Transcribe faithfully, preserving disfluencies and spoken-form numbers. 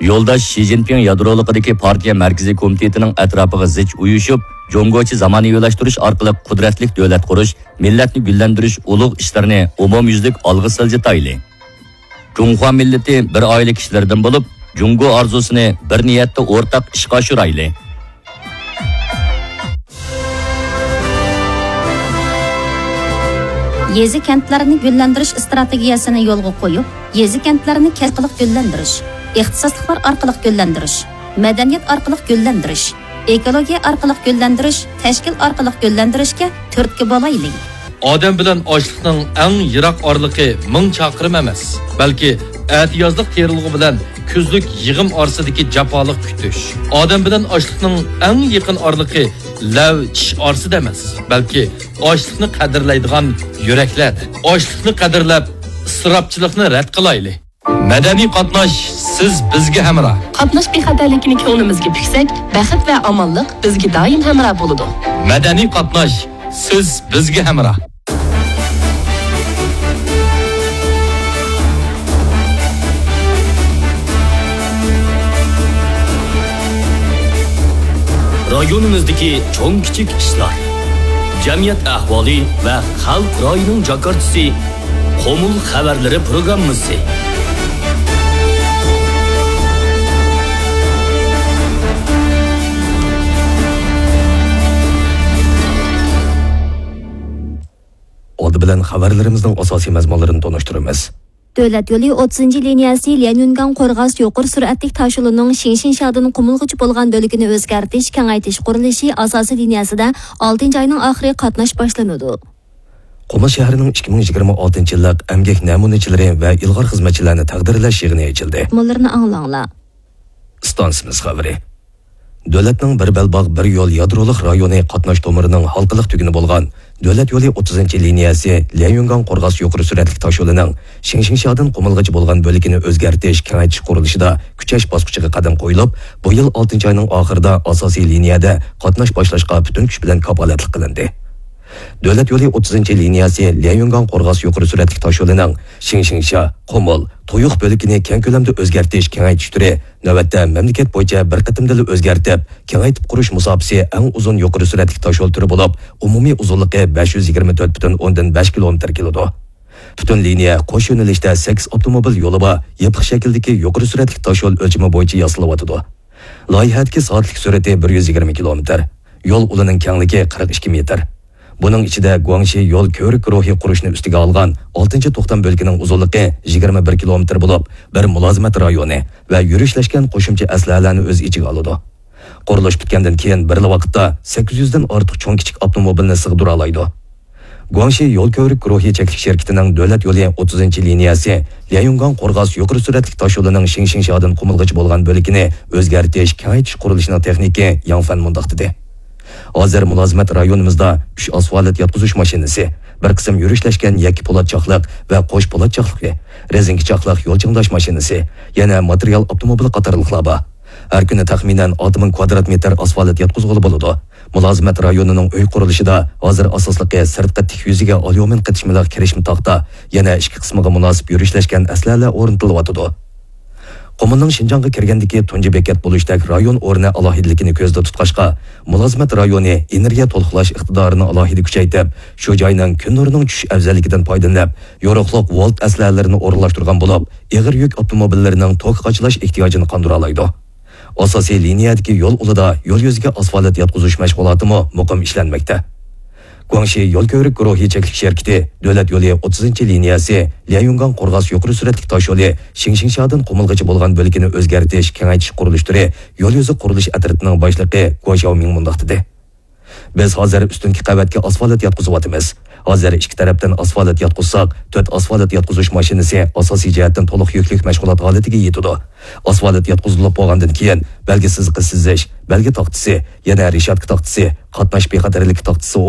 يولداش شى جىنپىڭ يادرولۇقىدىكى پارتىيە مەركىزىي كومىتېتىنىڭ ئەتراپىغا زىچ ئۇيۇشۇپ، جۇڭگوچە زامانىۋىلاشتۇرۇش ئارقىلىق قۇدرەتلىك دۆلەت قۇرۇش، مىللەتنى گۈللەندۈرۈش ئۇلۇغ ئىشلىرىنى ئومۇميۈزلۈك ئالغا سىلجىتايلى. جۇڭخۇا مىللىتى بىر ئائىلە كىشىلىرىدىن بولۇپ، جۇڭگو ئارزۇسىنى بىر نىيەتتە ئورتاق ئىشقا ئاشۇرايلى. يېزا-كەنتلەرنى گۈللەندۈرۈش ئىستراتېگىيەسىنى يولغا قويۇپ، يېزا-كەنتلەرنى كەسىپ ئارقىلىق گۈللەندۈرۈش، ئىختىساسلىقلار ئارقىلىق گۈللەندۈرۈش، مەدەنىيەت ئارقىلىق گۈللەندۈرۈش، ئېكولوگىيە ئارقىلىق گۈللەندۈرۈش، تەشكىل ئارقىلىق گۈللەندۈرۈشكە تۈرتكە بولايلى. ئادەم بىلەن ئاشلىقنىڭ ئەڭ يىراق ئارىلىقى مىڭ چاقىرىم ئەمەس، بەلكى ئەتىيازلىق تېرىلغۇ بىلەن كۈزلۈك يىغىم ئارىسىدىكى جاپالىق كۈتۈش. ئادەم بىلەن ئاشلىقنىڭ ئەڭ يېقىن ئارىلىقى لەۋ چىش ئارىسىدا ئەمەس، بەلكى ئاشلىقنى قەدىرلەيدىغان يۈرەكلەردە. ئاشلىقنى قەدىرلەپ، ئىسراپچىلىقنى رەت قىلايلى. مەدەنىي قاتناش، سىز بىزگە ھەمراھ. قاتناش بىخەتەرلىكىنى كۆڭلىمىزگە پۈكسەك، بەخت ۋە ئامانلىق بىزگە دائىم ھەمراھ بولىدۇ. مەدەنىي قاتناش، سىز بىزگە ھەمراھ. رايونىمىزدىكى چوڭ-كىچىك ئىشلار، جەمئىيەت ئەھۋالى ۋە خەلق رايىنىڭ جاكارتىسى، قۇمۇل خەۋەرلىرى پروگراممىسى. ئالدى بىلەن خەۋەرلىرىمىزنىڭ ئاساسىي مەزمۇنلىرىنى تونۇشتۇرىمىز. دۆلەت يولى ئوتتۇزىنچى لىنىيەسى ليەنيۈنگاڭ قورغاس يۇقىرى سۈرئەتلىك تاشيولىنىڭ شىڭشىڭشادىن قۇمۇلغىچە بولغان بۆلىكىنى ئۆزگەرتىش، كېڭەيتىش قۇرۇلۇشى ئاساسىي لىنىيەسىدە ئالتىنچى ئاينىڭ ئاخىرى قاتناش باشلىنىدۇ. قۇمۇل شەھىرىنىڭ ئىككى مىڭ يىگىرمە ئالتىنچى يىللىق ئەمگەك نەمۇنىچىلىرى ۋە ئىلغار خىزمەتچىلەرنى تەقدىرلەش يىغىنى ئېچىلدى. مۇنۇلارنى ئاڭلاڭلار. ئىستانسىمىز خەۋىرى. دۆلەتنىڭ بىر بەلباغ، بىر يول يادرولۇق رايونى قاتناش تومۇرىنىڭ ھالقىلىق تۈگۈنى بولغان دۆلەت يولى ئوتتۇزىنچى لىنىيەسى ليەنيۈنگاڭ قورغاس يۇقىرى سۈرئەتلىك تاشيولىنىڭ شىڭشىڭشادىن قۇمۇلغىچە بولغان بۆلىكىنى ئۆزگەرتىش، كېڭەيتىش قۇرۇلۇشىدا كۈچەش باسقۇچىغا قەدەم قويۇلۇپ، بۇ يىل ئالتىنچى ئاينىڭ ئاخىرىدا ئاساسىي لىنىيەدە قاتناش باشلاشقا پۈتۈن كۈچ بىلەن كاپالەتلىك قىلىندى. دۆلەت يولى ئوتتۇزىنچى لىنىيەسى ليەنيۈنگاڭ قورغاس يۇقىرى سۈرئەتلىك تاشيولىنىڭ شىڭشىڭشا، قۇمۇل، تۇيۇق بۆلىكىنى كەڭ كۆلەمدە ئۆزگەرتىش، كېڭەيتىش تۈرى نۆۋەتتە مەملىكەت بويىچە بىر قېتىمدىلا ئۆزگەرتىپ، كېڭەيتىپ قۇرۇش مۇساپىسى ئەڭ ئۇزۇن يۇقىرى سۈرئەتلىك تاشيول تۈرى بولۇپ، ئومۇمىي ئۇزۇنلۇقى بەش يۈز يىگىرمە تۆت پۈتۈن ئوندىن بەش كىلومېتىر كېلىدۇ. پۈتۈن لىنىيە قوش يۆنىلىشتە سەككىز ئاپتوموبىل يولى بار يېپىق شەكىلدىكى يۇقىرى سۈرئەتلىك تاشيول ئۆلچىمى بويىچە ياسىلىۋاتىدۇ. لايىھەدىكى سائەتلىك سۈرئىتى بىر يۈز يىگىرمە كىلومېتىر. يول ئۇلىنىڭ كەڭلىكى قىرىق ئىككى مېتىر. بۇنىڭ ئىچىدە گۇاڭشى يول كۆۋرۈك گۇرۇھى قۇرۇشنى ئۈستىگە ئالغان ئالتىنچى توختام بۆلىكىنىڭ ئۇزۇنلۇقى يىگىرمە بىر كىلومېتىر بولۇپ، بىر مۇلازىمەت رايونى ۋە يۈرۈشلەشكەن قوشۇمچە ئەسلىھەلەرنى ئۆز ئىچىگە ئالىدۇ. قۇرۇلۇش پۈتكەندىن كېيىن بىرلا ۋاقىتتا سەككىز يۈزدىن ئارتۇق چوڭ-كىچىك ئاپتوموبىلنى سىغدۇرالايدۇ. گۇاڭشى يول كۆۋرۈك گۇرۇھى چەكلىك شىركىتىنىڭ دۆلەت يولى ئوتتۇزىنچى لىنىيەسى ليەنيۈنگاڭ قورغاس يۇقىرى سۈرئەتلىك تاشيولىنىڭ شىڭشىڭشادىن قۇمۇلغىچە بولغان بۆلىكىنى ئۆزگەرتىش، كېڭەيتىش قۇرۇلۇشىنىڭ تېخنىكى ياڭ فەن مۇنداق دېدى. ھازىر مۇلازىمەت رايونىمىزدا ئۈچ ئاسفالت ياتقۇزۇش ماشىنىسى، بىر قىسىم يۈرۈشلەشكەن يەككە پولات چاقلىق ۋە قوش پولات چاقلىقى، رېزىنكە چاقلىق يول چىڭداش ماشىنىسى، يەنە ماتېرىيال ئاپتوموبىلى قاتارلىقلار بار. ھەر كۈنى تەخمىنەن ئالتە مىڭ كۋادرات مېتىر ئاسفالت ياتقۇزغىلى بولىدۇ. مۇلازىمەت رايونىنىڭ ئۆي قۇرۇلۇشىدا ھازىر ئاساسلىقى سىرتقى تىك يۈزىگە ئاليۇمىن قېتىشمىلىق كىرىشمە تاختا، يەنە ئىچكى قىسمىغا مۇناسىپ يۈرۈشلەشكەن ئەسلىھەلەر ئورنىتىلىۋاتىدۇ. قۇمۇلنىڭ شىنجاڭغا كىرگەندىكى تۇنجى بېكەت بولۇشتەك رايون ئورنى ئالاھىدىلىكىنى كۆزدە تۇتقاچقا، مۇلازىمەت رايونى ئېنېرگىيە تولۇقلاش ئىقتىدارىنى ئالاھىدە كۈچەيتىپ، شۇ جاينىڭ كۈن نۇرىنىڭ چۈشۈش ئەۋزەللىكىدىن پايدىلىنىپ، يورۇقلۇق ۋولت ئەسلىھەلىرىنى ئورۇنلاشتۇرغان بولۇپ، ئېغىر يۈك ئاپتوموبىللىرىنىڭ توك قاچىلاش ئېھتىياجىنى قاندۇرالايدۇ. ئاساسىي لىنىيەدىكى يول ئۇلىدا يول يۈزىگە ئاسفالت ياتقۇزۇش مەشغۇلاتىمۇ مۇقىم ئىشلەنمەكتە. گۇاڭشى يول كۆۋرۈك گۇرۇھى چەكلىك شىركىتى دۆلەت يولى ئوتتۇزىنچى لىنىيەسى ليەنيۈنگاڭ قورغاس يۇقىرى سۈرئەتلىك تاشيولى شىڭشىڭشادىن قۇمۇلغىچە بولغان بۆلىكىنى ئۆزگەرتىش، كېڭەيتىش قۇرۇلۇش تۈرى يول يۈزى قۇرۇلۇش ئەترىتىنىڭ باشلىقى گۇا شياۋمىڭ مۇنداق دېدى. بىز ھازىر ئۈستۈنكى قەۋەتكە ئاسفالت ياتقۇزۇۋاتىمىز. ھازىر ئىككى تەرەپتىن ئاسفالت ياتقۇزساق، تۆت ئاسفالت ياتقۇزۇش ماشىنىسى ئاساسىي جەھەتتىن تولۇق يۈكلۈك مەشغۇلات ھالىتىگە يېتىدۇ. ئاسفالت ياتقۇزۇلۇپ بولغاندىن كېيىن، بەلگە سىزىقى سىزىش، بەلگە تاختىسى، يەنە رېشاتكا تاختىسى، قاتناش بىخەتەرلىكى تاختىسى